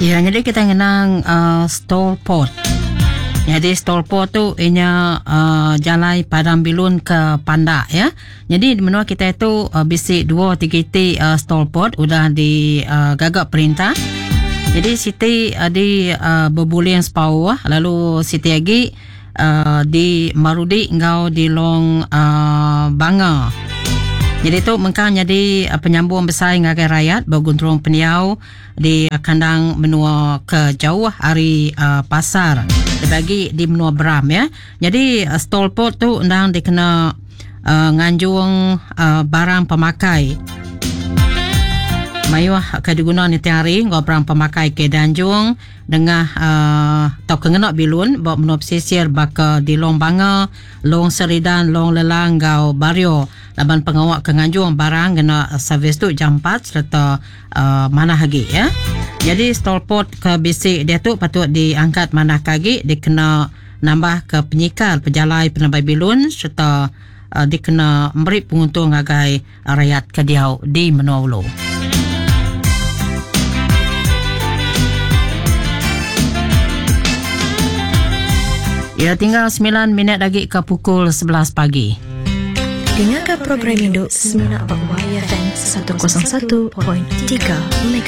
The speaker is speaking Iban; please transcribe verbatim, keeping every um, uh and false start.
Ya, jadi kita ngenang uh, STOLport. Jadi STOLport tu ianya uh, jalai Padang Bilun ke Pandak ya. Jadi di menua kita itu uh, bisi dua tiga ti uh, STOLport udah di uh, gagak perintah. Jadi siti uh, di uh, Bebuling Spaoh, lalu siti lagi uh, di Marudi ngau di Long uh, Banga. Jadi tu mengkang jadi uh, penyambung besar ngagai rakyat berguntrung peniau di uh, kandang menua ke jauh hari uh, pasar dibagi di menua Beram ya. Jadi uh, STOLport tu endang dikena uh, nganjung uh, barang pemakai. Mayuh ke diguna ni tiap hari ngau barang pemakai ke Danjung dengan uh, tau ke ngena bilun bawa menua pesisir baka di Long Banga, Long Seridan, Long Lelang ngau Bario. Laban pengawak ke nganjung barang kena servis tu jam empat serta uh, mana lagi ya. Jadi STOLport ke bisik dia tu patut diangkat mana kagi dikena nambah ke penyikar pejalai penebai bilun serta uh, dikena memberi penguntung agai rakyat ke diau di menua ulu. Ya, tinggal sembilan minit lagi ke pukul sebelas pagi. Dengarkan program Induk Semina Bak Y F M seratus satu tiga M H.